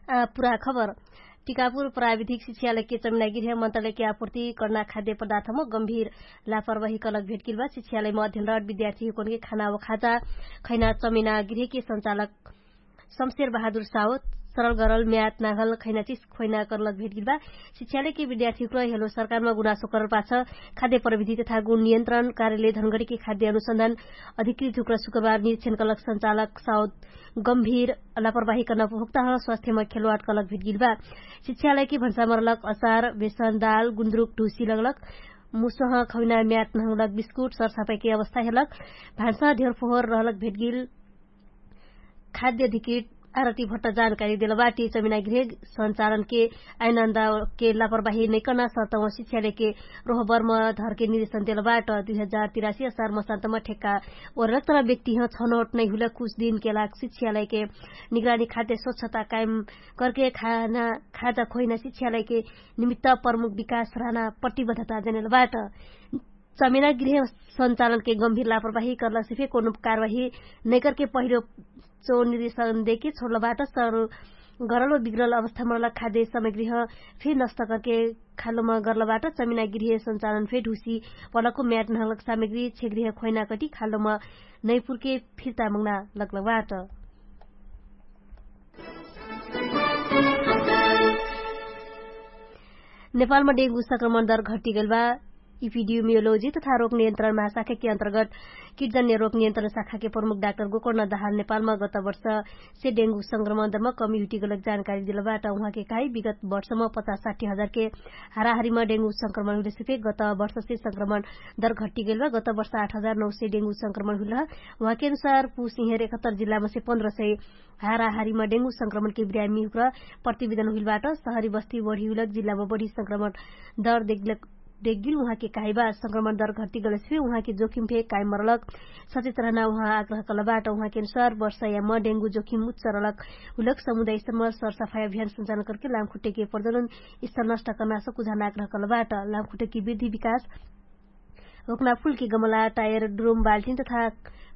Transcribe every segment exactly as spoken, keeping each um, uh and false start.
पुरा खबर। टिकापुर प्राविधिक शिक्षालयके चमिनागिर्ह मन्त्रालयके आपुर्ति कर्ना खाद्य पदार्थम गम्भिर लापरवाही कलक भेटगिल्बा। शिक्षालयम अध्ययनरट विद्यार्थीहुकनके खाना व खाजा खैना चमिनागिर्हके सञ्चालक शमशेर बहादुर सावत सरल गरल म्यात नागल खैना चिस खोइना कर्लक भेटगिल्बा। शिक्षालयके विद्यार्थीहुकर हेलो सरकारमा गुनासो करल पाछ खाद्य प्रविधि तथा गुण नियन्त्रण कार्यलय धनगडीके खाद्य अनुसन्धान अधिकृतहुकर शुक्रबार निरिक्षण कर्लक सञ्चालक सावत गम्भिर लापरवाही कर्ना उपभोक्ताह स्वास्थ्यमा खेलवाट कर्लक भेटगिल्बा। शिक्षालयके भन्सामरलक अचार बेसन दाल गुन्द्रुक ढुसी लगलक मुसह खौना म्यात नहौलक बिस्कुट सरसापाइके अवस्था हेलक। भान्सा ढेर फोहोर रहलक भेटगिल। खाद्य अधिकृत आरती भट्ट जानकारी देलबाटी चमिनागिर्हे सञ्चालनके आइनन्दाके लापरवाही नैकर्ना सर्तम शिक्षालयके रोहबर्म धरके निरिक्षण देलबाट। दुई हजार तिरासी असार मसान्तम ठेक्का ओरलक तर व्यक्तिह छनौट नैहुलक कुछ दिनके लाग शिक्षालयके निगरानी खाद्य स्वच्छता कायम करके खाना खाजा खोइना शिक्षालयके निमित्त प्रमुख विकास रहना प्रतिबद्धता जनेलबाट। चमेना गृह सञ्चालनके गम्भिर लापरवाही कर्लक सिफे कोनो कारवाही नैकरके पहिलो चो निरिक्षण देके छोडलबाट सरल गरल व बिग्रल अवस्थामरलक खाद्य सामग्रीह फे नष्ट करके खालोम गर्लबाट। चमिना गृह सञ्चालन फे ढुसी पलको म्याट नहलक सामग्री छेगृह खोइना कटी खालोम नैपुरके फिर्ता मङ्ना लग्लबाट। नेपालमा डेङ्गु संक्रमण दर घट्टिगेल बा। इपिडियोमियोलोजी तथा रोग नियन्त्रण महाशाखाके अन्तर्गत किटजन्य रोग नियन्त्रण शाखाके प्रमुख डाक्टर गोकर्ण दहाल नेपालमा गत वर्ष से डेङ्गु संक्रमण दरमा कमी हुटिगलक जानकारी दिलबाट। उहाँके कहाई विगत वर्षमा पचास साठी हजारके हाराहारीमा डेङ्गु संक्रमण हुलेसिफे गत वर्ष से संक्रमण दर घट्टिगेल बा। गत वर्ष आठ हजार नौ से डेङ्गु संक्रमण हुलह। उहाँके अनुसार पुस इहेर एकहत्तर जिल्लामा से पन्ध्र सय हाराहारीमा डेङ्गु संक्रमणके बिरामी हुक्र प्रतिवेदन हुइलबाट। सहरी बस्ती बढी हुलक जिल्लामा बढी संक्रमण दर देखगिल उहाँके कहाइबा। संक्रमण दर घट्टिगलसिफे उहाँके जोखिम फे कायम मरलक सचेत रहना उहाँ आग्रह कलबाट। उहाँके अनुसार वर्षयामा डेङ्गु जोखिम उच्च रलक हुलक समुदायसम्म सरसफाइ अभियान सञ्चालन करके लामखुट्टेके प्रजनन स्थल नष्ट कर्ना सकुझान आग्रह कलबाट। लामखुट्टेके वृद्धि विकास रोक्ना फुलके गमला टायर ड्रोम बाल्टिन तथा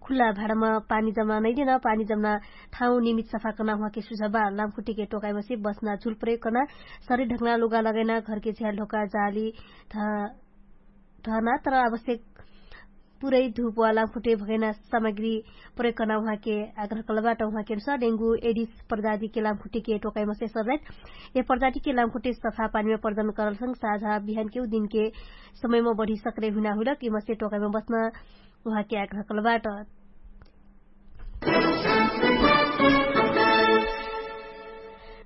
खुल्ला भाडामा पानी जम्ना नैदेन पानी जम्ना ठाउँ निमित सफा कर्ना उहाँके सुझाबा। लामखुट्टेके टोकाइमा से बस्ना झुल प्रयोग कर्ना सरी ढक्ना लुगा लगैना घरके झ्याल ढोका जाली धर्ना तर आवश्यक पुरै धुप वा लामखुट्टे भगैना सामग्री प्रयोग कर्ना उहाँके आग्रह कलबाट। उहाँके अनुसार डेङ्गु एडिस प्रजातिके लामखुट्टेके टोकाइमा से सरजाइत ए प्रजातिके लामखुट्टे सफा पानीमा प्रजन करलसँग साझा बिहानके उ दिनके समयमा बढी सक्रे हुइना हुइलक इमसे टोकाइमा बस्न उहाँके आग्रह कलबाट।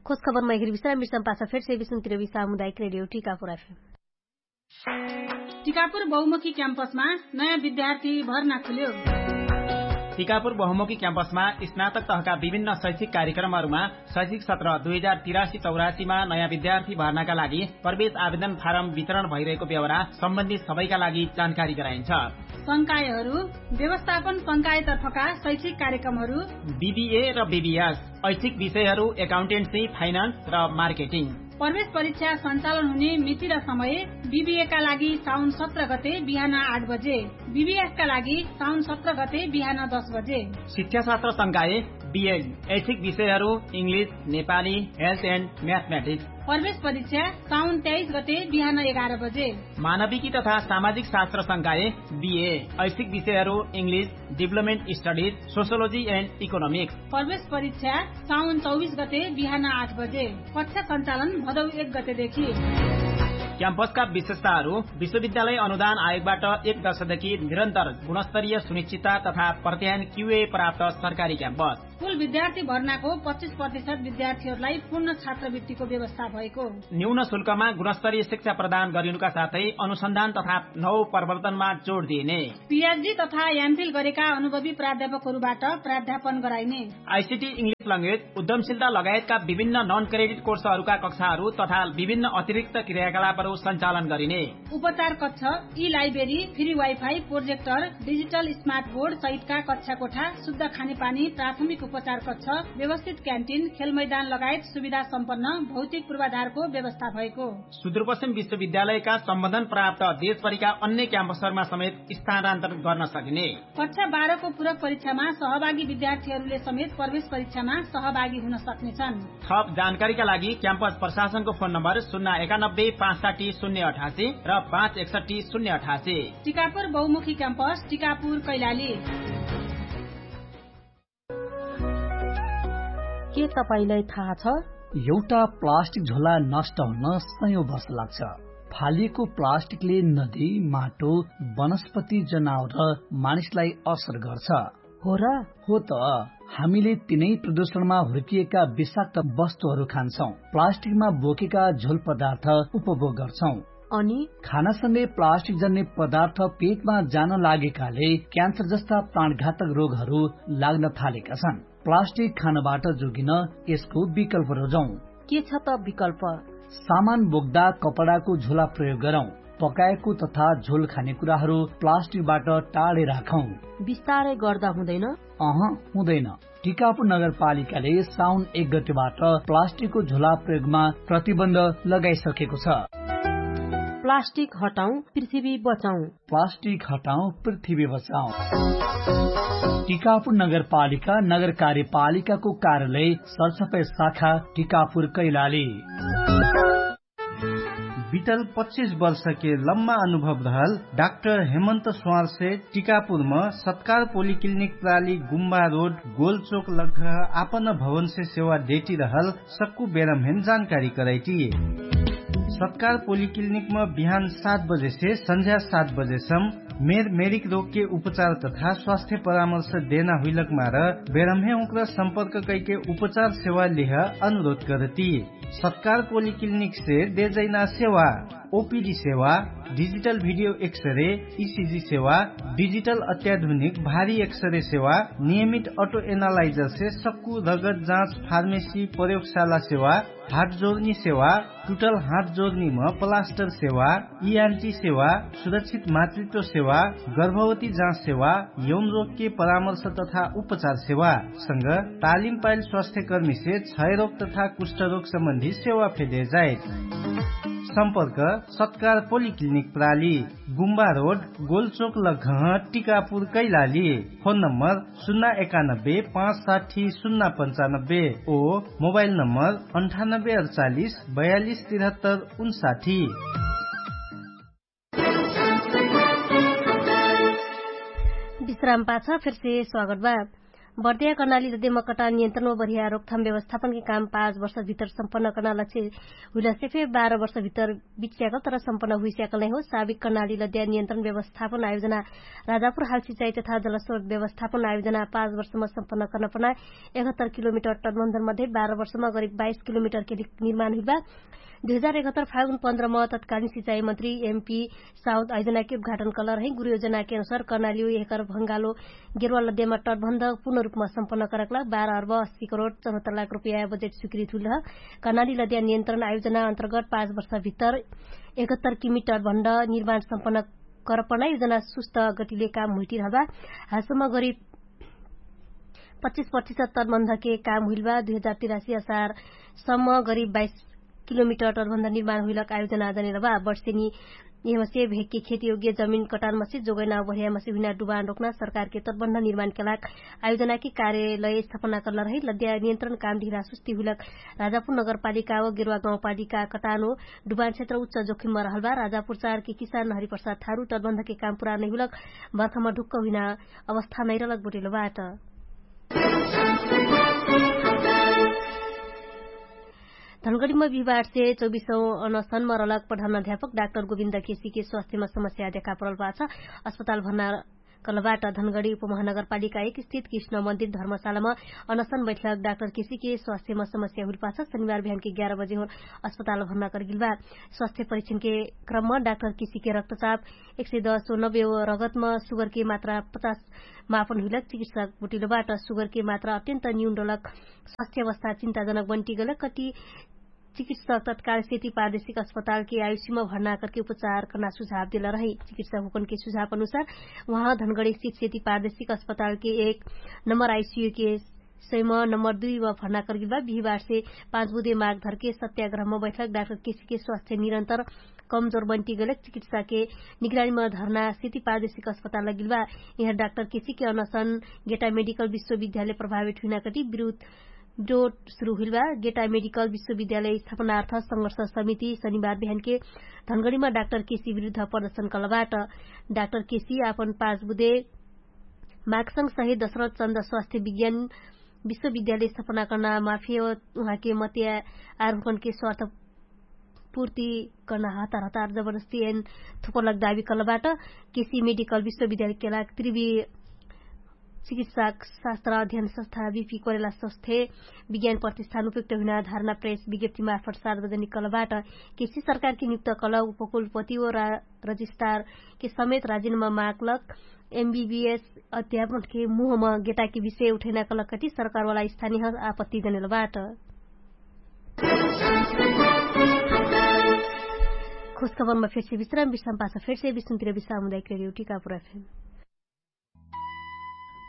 खोज खबर मैगरी विश्राम विश्राम पाछा फेर से विश्राम तिरवी सामुदायिक रेडियो टिकापुर एफएम। टिकापुर बहुमुखी क्याम्पसमा नयाँ विद्यार्थी भर्ना खुल्यो। टिकापुर बहुमुखी क्याम्पसमा स्नातक तहका विभिन्न शैक्षिक कार्यक्रमहरूमा शैक्षिक सत्र दुई हजार तिरासी चौरासीमा नयाँ विद्यार्थी भर्नाका लागि प्रवेश आवेदन फारम वितरण भइरहेको व्यवहार सम्बन्धी सबैका लागि जानकारी गराइन्छ। संकायहरू व्यवस्थापन संकायतर्फका शैक्षिक कार्यक्रमहरू बिबिए र बिबिएस, ऐच्छिक विषयहरू एकाउन्टेन्सी, फाइनान्स र मार्केटिङ। प्रवेश परीक्षा सञ्चालन हुने मिति र समय बिबिएका लागि साउन सत्र गते बिहान आठ बजे, बिबिएसका लागि साउन सत्र गते बिहान दस बजे। शिक्षाशास्त्र संकाय बिएड, ऐच्छिक विषयहरू इङ्ग्लिस, नेपाली, हेल्थ एन्ड म्याथमेटिक्स। प्रवेश परीक्षा साउन तेइस गते बिहान एघार बजे। मानविकी तथा सामाजिक शास्त्र संकाय बिए, ऐच्छिक विषयहरू English, development studies, sociology end economics. प्रवेश परीक्षा साउन चौबिस गते बिहान आठ बजे। कक्षा सञ्चालन भदौ एक गतेदेखि। क्याम्पसका विशेषताहरू विश्वविद्यालय अनुदान आयोगबाट एक दशकदेखि निरन्तर गुणस्तरीय सुनिश्चितता तथा प्रत्यायन क्युए प्राप्त सरकारी क्याम्पस। कुल विद्यार्थी भर्नाको पच्चिस प्रतिशत विद्यार्थीहरूलाई पूर्ण छात्रवृत्तिको व्यवस्था भएको। न्यून शुल्कमा गुणस्तरीय शिक्षा प्रदान गरिनुका साथै अनुसन्धान तथा नव प्रवर्तनमा जोड दिइने। पिएचडी तथा एमफिल गरेका अनुभवी प्राध्यापकहरूबाट प्राध्यापन गराइने। आइसिटी इङ्ग्लिस ल्याङ्ग्वेज उद्यमशीलता लगायतका विभिन्न नन क्रेडिट कोर्सहरूका कक्षाहरू तथा विभिन्न अतिरिक्त क्रियाकलाप सञ्चालन गरिने। उपचार कक्ष, ई library, free wifi, projector, digital smart board सहितका कक्षा कोठा, शुद्ध खानेपानी, प्राथमिक उपचार कक्ष, व्यवस्थित क्यान्टिन, खेलमैदान लगायत सुविधा सम्पन्न भौतिक पूर्वाधारको व्यवस्था भएको। सुदूरपश्चिम विश्वविद्यालयका सम्बन्धन प्राप्त देशभरिका अन्य क्याम्पसहरूमा समेत स्थानान्तरण गर्न सकिने। कक्षा बाह्रको पूरक परीक्षामा सहभागी विद्यार्थीहरूले समेत प्रवेश परीक्षामा सहभागी हुन सक्नेछन्। थप जानकारीका लागि क्याम्पस प्रशासनको फोन नम्बर शून्य एकानब्बे पाँच साठी शून्य अठासी र पाँच एकसट्ठी शून्य अठासी। टिकापुर बहुमुखी क्याम्पस, टिकापुर कैलाली। के तपाईंलाई थाहा छ? एउटा प्लास्टिक झोला नष्ट हुन सयौं वर्ष लाग्छ। फालिएको प्लास्टिकले नदी, माटो, वनस्पति, जनावर र मानिसलाई असर गर्छ। हो र? हो त। हामीले तिनै प्रदूषणमा हुर्किएका विषाक्त वस्तुहरू खान्छौं, प्लास्टिकमा बोकेका झोल पदार्थ उपभोग गर्छौं। अनि खानासँगै प्लास्टिक जन्ने पदार्थ पेटमा जान लागेकाले क्यान्सर जस्ता प्राणघातक रोगहरू लाग्न थालेका छन्। प्लास्टिक खानबाट जोगिन यसको विकल्प रोजौं। के छ त विकल्प? सामान बोक्दा कपडाको झोला प्रयोग गरौं। पकाएको तथा झोल खाने कुराहरू प्लास्टिकबाट टाढे राखौं। बिस्तारै गर्दा हुँदैन? अह, हुँदैन। टिकापुर नगरपालिकाले साउन एक गतेबाट प्लास्टिकको झोला प्रयोगमा प्रतिबन्ध लगाइसकेको छ। प्लास्टिक हटाउँ, पृथ्वी बचाउँ। प्लास्टिक हटाउँ, पृथ्वी बचाउँ। टिकापुर नगरपालिका नगर कार्यपालिकाको कार्यालय सरसफाई शाखा टिकापुर कैलाली। बितल पच्चिस वर्षके लम्मा अनुभव रहल डाक्टर हेमन्त स्वारसे टिकापुरम सत्कार पोलिक्लिनिक प्राली गुम्बा रोड गोलचोक लग्घ आपन भवनसे सेवा डेटी रहल सक्कु बेरमहेन जानकारी करैटी। सत्कार पोलिक्लिनिकम बिहान सात बजेसे सन्झ्या सात बजेसम मेर मेरिक रोगके उपचार तथा स्वास्थ्य परामर्श देना हुइलक मार बेरमहे उक्र सम्पर्क कैके उपचार सेवा लिह अनुरोध करती। सत्कार पोलिक्लिनिकसे देजैना सेवा ओपिडी सेवा, डिजिटल भिडियो एक्सरे, इसिजी सेवा, डिजिटल अत्याधुनिक भारी एक्सरे सेवा, नियमित अटो एनालाइजरसे सक्कु रगत जाँच फार्मेसी प्रयोगशाला सेवा, हात जोर्नी सेवा, टुटल हात जोर्नीम प्लास्टर सेवा, इआन्टी सेवा, सुरक्षित मातृत्व सेवा, गर्भवती जाँच सेवा, यौन रोगके परामर्श तथा उपचार सेवा संग तालिम पाइल स्वास्थ्यकर्मीसे क्षयरोग तथा कुष्ठरोग सम्बन्धी सेवा फेदे जाइत। सम्पर्क सत्कार पोलिक्लिनिक प्राली, गुम्बा रोड, गोलचोक लग्घह, टिकापुर कैलाली। फोन नम्बर सुन्ना एकानब्बे पाँच साठी सुन्ना पन्चानब्बे ओ मोबाइल नम्बर अन्ठानब्बे अडचालिस बयालिस तिरहत्तर उन्साठी। विश्राम पाछ फेरसे स्वागत बा। बर्दिया कर्णाली लदेम कटा नियन्त्रणमा बढिया रोकथाम व्यवस्थापनके काम पाँच वर्षभित्र सम्पन्न कर्ना लक्ष्य हुइलसे फे बाह्र वर्षभित्र बिचस्याकल तर सम्पन्न हुइस्याकल नै हो। साबिक कर्णाली लद्या नियन्त्रण व्यवस्थापन आयोजना राजापुर हालसिचाइ तथा जलस्रोत व्यवस्थापन आयोजना पाँच वर्षमा सम्पन्न कर्ना पर्ना एकहत्तर किलोमिटर टर्मन्धर मध्ये बाह्र वर्षमा गरिब बाइस किलोमिटरके निर्माण हुइबा। दुई हजार एकहत्तर फागुन पन्ध्रमा तत्कालिन सिचाइ मन्त्री एमपी साउथ आयोजनाके उद्घाटन कलर है गुरु योजनाके अनुसार कर्णाली यहकर भङ्गालो गेरवा लद्यामा टर्भन्ध पूर्ण रुपमा सम्पन्न करकला बाह्र अर्भ अस्सी करोड चौहत्तर लाख रुपैया बजेट स्वीकृत हुइल ह। कर्णाली लद्या नियन्त्रण आयोजना अन्तर्गत पाँच वर्षभित्तर एकहत्तर किमी टर्भन्ध निर्माण सम्पन्न करपना योजना सुस्त गतिले काम हुइटिरहबा। हालसम्म गरी पच्चिस प्रतिशत तर्भन्धके काम हुइलबा दुई हजार तिरासी असार सम्म गरी बाइस किलोमिटर तर्भन्ध निर्माण हुइलक आयोजना जनेलबा। बर्सेनी यहमसे भेगके खेतयोग्य जमिन कटानमसे जोगैना बढियामसे हुइना डुबान रोक्ना सरकारके तर्भन्ध निर्माणके लाग आयोजनाके कार्यलय स्थापना कर्ना रहे लद्या नियन्त्रण काम ढिरा सुस्ती हुइलक। राजापुर नगरपालिका व गेरुवा गाउँपालिका कटानो डुबान क्षेत्र उच्च जोखिममा रहलबा राजापुर चारके किसान नहरी प्रसाद थारु तर्भन्धके काम पुरानै हुइलक। बर्खामा ढुक्क हुइना अवस्था नैरलक बोटेलबाट। धनगढीमा बिहिबारसे चौबिसौँ अनसनमा रलक प्रधान अध्यापक डाक्टर गोविन्द केसीके स्वास्थ्यमा समस्या देखापरल पाछ। अस्पताल भर्ना कलबाट धनगढी उपमहानगरपालिका एक स्थित कृष्ण मन्दिर धर्मशालामा अनसन बैठक डाक्टर केसीके स्वास्थ्यमा समस्या हुइल पाछ शनिबार बिहानके ग्यार बजे होन अस्पताल भर्ना करगिलबा। स्वास्थ्य परीक्षणके क्रममा डाक्टर केसीके रक्तचाप एक सय दस हो नब्बे हो रगतमा सुगरके मात्रा पचास मापन हुइलक चिकित्सक बोटिलोबाट सुगरके मात्रा अत्यन्त न्यून डलक स्वास्थ्य अवस्था चिन्ताजनक बन्टिगलक कति चिकित्सक तत्काल सेती पारदेशिक अस्पतालके आयुषीमा भर्ना करके उपचार कर्ना सुझाव देला रही। चिकित्सक हुकनके सुझाव अनुसार उहाँ धनगडी सित सेती पारदेशिक अस्पतालके एक नम्बर आयुषीके सैम नम्बर दुई वा भर्ना करगेल बा। बिहिबारसे पाँच बुधे माग धरके सत्याग्रहमा बैठक डाक्टर केसीके स्वास्थ्य निरन्तर कमजोर बन्टी गैलक चिकित्साके निगरानीमा धर्ना सेती पारदेशिक अस्पताल लगिल बा। यहाँ डाक्टर केसीके अनसन गेटा मेडिकल विश्वविद्यालय प्रभावित हुइना कति विरुद्ध डोट सुरु हुइल बा। गेटा मेडिकल विश्वविद्यालय स्थापनार्थ संघर्ष समिति शनिबार बिहानके धनगडीमा डाक्टर केसी विरुद्ध प्रदर्शन कलबाट। डाक्टर केसी आपन पाँच बुधे मागसंग सहित दशरथ चन्द स्वास्थ्य विज्ञान विश्वविद्यालय स्थापना कर्ना माफे उहाँके मत्या आरुकनके स्वार्थ पूर्ति कर्ना हतार हतार जबरजस्ती एन थुपलक दावी कलबाट। केसी मेडिकल विश्वविद्यालय केला त्रिवी चिकित्सा शास्त्र अध्ययन संस्था विपी कोरेला संस्थे विज्ञान प्रतिष्ठान उपयुक्त हुइना धारणा प्रेस विज्ञप्ति मार्फत सार्वजनिक कलबाट। केसी सरकारके नियुक्त कल उपकुलपति ओ रजिस्ट्रारके समेत राजिनमा माकलक एमबीबीएस अध्यापनके मुहमा गेटाके विषय उठैना कलक कति सरकारवाला स्थानीय आपत्ति जनेलबाट। खुशखबरमा फेर्से विश्राम विश्राम पाछ फेर्से विश्राम तिर विश्राम हुँदै क्रेडियो टिका पुरा फेम।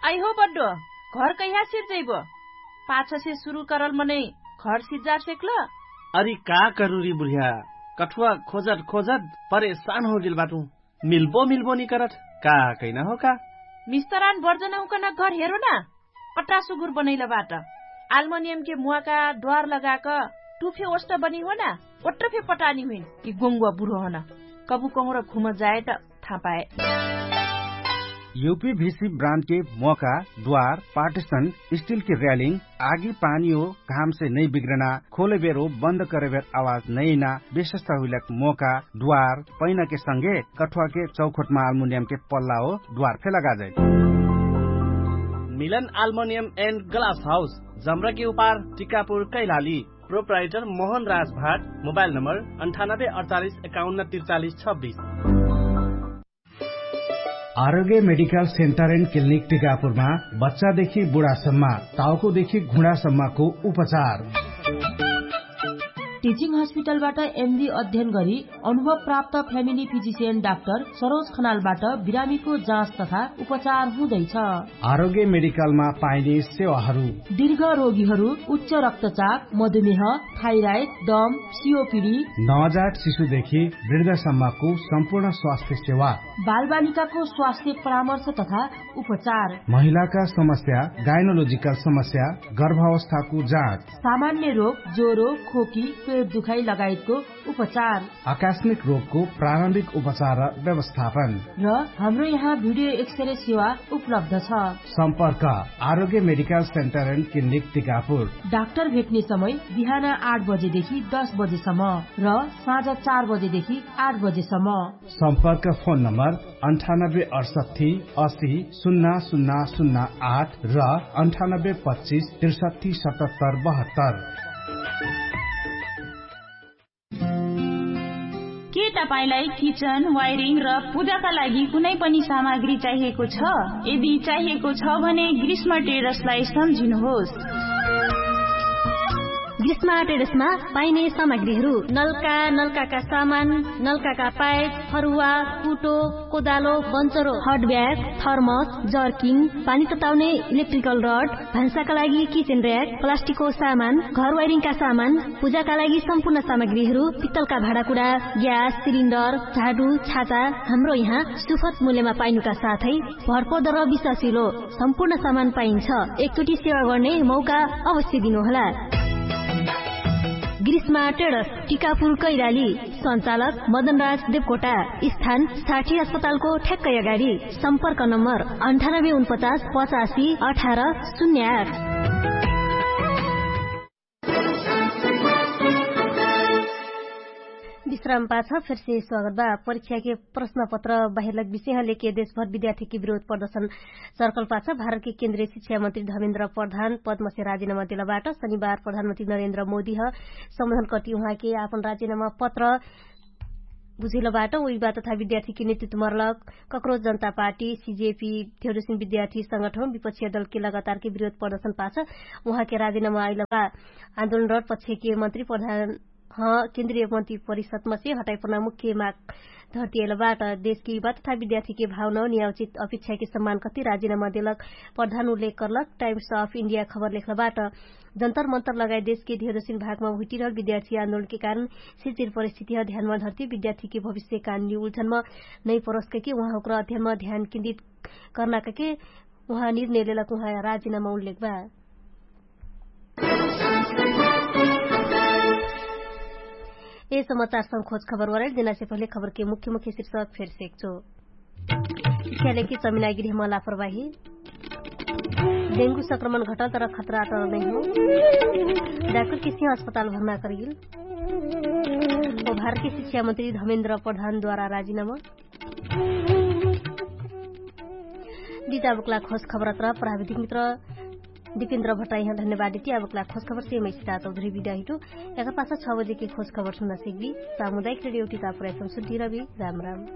आइ हो बड्डो, घर कहिया सिर जैबो? पाछसे सुरु करल मनै घर सिज्जार सेक्ल? अरि का करुरी बुढिया, कठुवा खोजत खोजत परेशान होगेल बाटु। मिल्बो मिल्बो निकरत का कैना हो का? मिस्तरान बर्जन हुकन घर हेरो ना। पट्टा सुगुर बनैल बाट। आल्मोनियमके मुवाका द्वार लगाक टुफे ओष्ट बनी हो ना। ओट्ट फे पटानी हुइन कि गोङ्गुवा बुढो हन। कबु कहुँर घुम जाए त थाहा पाए। यूपीभीसी ब्रान्डके मोका द्वार पार्टिसन स्टिलके र्यालिङ आगी पानी हो घामसे नै बिग्रना खोलेबेरो बन्द करेबेर आवाज नैना विशेषता हुइलक मोका द्वार पैनाके संगे कठुवाके चौखोटमा आल्मुनियमके पल्ला हो द्वार फे लगाजै। मिलन आल्मुनियम एन्ड ग्लास हाउस जम्रके उपार टिकापुर कैलाली। प्रोप्राइटर मोहन राजभाट। मोबाइल नम्बर अन्ठानब्बे अडचालिस एकाउन्न तिरचालिस छब्बिस। आरोग्य मेडिकल सेन्टर एन्ड क्लिनिक टिकापुरमा बच्चादेखि बुढासम्म, टाउकोदेखि घुँडासम्मको उपचार। टिचिङ हस्पिटलबाट एमडी अध्ययन गरी अनुभव प्राप्त फ्यामिली फिजिसियन डाक्टर सरोज खनालबाट बिरामीको जाँच तथा उपचार हुँदैछ। आरोग्य मेडिकलमा पाइने सेवाहरू। दीर्घ रोगीहरू, उच्च रक्तचाप, मधुमेह, थाइराइड, दम, सिओपिडी, नवजात शिशुदेखि वृद्धसम्मको सम्पूर्ण स्वास्थ्य सेवा। बालबालिकाको स्वास्थ्य परामर्श तथा उपचार। महिलाका समस्या, गाइनोलोजिकल समस्या, गर्भावस्थाको जाँच। सामान्य रोग, ज्वरो, खोकी, पेट दुखाइ लगायतको उपचार। आकस्मिक रोगको प्रारम्भिक उपचार र व्यवस्थापन। र हाम्रो यहाँ भिडियो एक्सरे सेवा उपलब्ध छ। सम्पर्क Arogya medical centre and clinic Tikapur. Doctor भेट्ने समय बिहान आठ बजेदेखि दस बजेसम्म र साँझ चार बजेदेखि आठ बजेसम्म। सम्पर्क फोन नम्बर अन्ठानब्बे अडसट्ठी असी सुन्ना सुन्ना सुन्ना आठ र अन्ठानब्बे पच्चिस त्रिसट्ठी सतहत्तर बहत्तर। के तपाईंलाई किचन वायरिङ र पूजाका लागि कुनै पनि सामग्री चाहिएको छ? यदि चाहिएको छ भने ग्रीष्म टेरसलाई सम्झिनुहोस्। ग्रीष्म टेरसमा पाइने सामग्रीहरू नलका नलकाका सामान, नलकाका पाइप, फरुवा, कुटो, कोदालो, बन्चरो, हट ब्याग, थर्मस, जर्किङ, पानी तताउने इलेक्ट्रिकल रड, भान्साका लागि किचेन र्याक, प्लास्टिकको सामान, घर वायरिङका सामान, पूजाका लागि सम्पूर्ण सामग्रीहरू, पित्तलका भाँडाकुडा, ग्यास सिलिन्डर, झाडु, छाता, हाम्रो यहाँ सुफत मूल्यमा पाइनुका साथै भरपर्दो र विश्वासिलो सम्पूर्ण सामान पाइन्छ। एकचोटि सेवा गर्ने मौका अवश्य दिनुहोला। ग्रीष्मा टेडस, टिकापुर कैलाली। सञ्चालक मदनराज देवकोटा। स्थान साठी अस्पतालको ठ्याक्कै अगाडि। सम्पर्क नम्बर अन्ठानब्बे उनपचास पचासी अठार शून्य आठ। विश्राम पाछ फेरसे स्वागत बा। परीक्षाके प्रश्नपत्र बाहिरलक विषयह लेके देशभर विद्यार्थीके विरोध प्रदर्शन सर्कल पाछ भारतके केन्द्रीय शिक्षा मन्त्री धमेन्द्र प्रधान पद्मसे राजिनामा देलबाट शनिबार प्रधानमन्त्री नरेन्द्र मोदीह सम्बोधन कर्ति उहाँके आपन राजिनामा पत्र बुझैलबाट उइबा तथा विद्यार्थीके नेतृत्व मरलक कक्रोच जनता पार्टी सिजेपी थेउडुसिन विद्यार्थी संगठन विपक्षीय दलके लगातारके विरोध प्रदर्शन पाछ उहाँके राजिनामा आइलबा। आन्दोलन रड पक्षके मन्त्री प्रधान केन्द्रीय मन्त्री परिषदमा से हटाइपर्ना मुख्य माग धरती अइल बाट। देशके युवा तथा विद्यार्थीके भावना नियावचित अपेक्षाके सम्मान कति राजिनामा देलक प्रधान उल्लेख कर्लक टाइम्स अफ इन्डिया खबर लेख्ल बाट। जन्तर मन्तर लगायत देशके धेरसिन भागमा हुइटिरहल विद्यार्थी आन्दोलनके कारण सिचिर परिस्थिति ह ध्यानमा धरती विद्यार्थीके भविष्यकान निउल्झनमा नै परस्कके उहाँ हुक्र अध्ययनमा ध्यान केन्द्रित कर्नाकके उहाँ निर्णय लेलक उहाँ राजिनामा उल्लेख बा। ए समाचार संग खोज खबर वराइल देनासे पहिले खबरके मुख्य मुख्य शिर्षक फेर सेक्चो। इख्यालेके चमिनागिरी हमा लापरवाही। डेंगु संक्रमण घटल तर खतरा अटल नै हो। डाक्टर किसिया अस्पताल भर्ना करगिल। भारतके शिक्षा मन्त्री धमेन्द्र प्रधानद्वारा राजिनामा। दिता बक्ला खोज खबर अत्र प्राविधिक मित्र दिपिन्द्र भट्टाइहाँ धन्यवाद दिति। आ बक्ला खोज खबर सेम इस्ता चौधरी विद्या हिटु। एकर पाछा छ बजेके खोज खबर सुन्ना सिक्बी। सामुदायिक रेडियो टिता प्रयासम सुन्ती रबी। राम राम।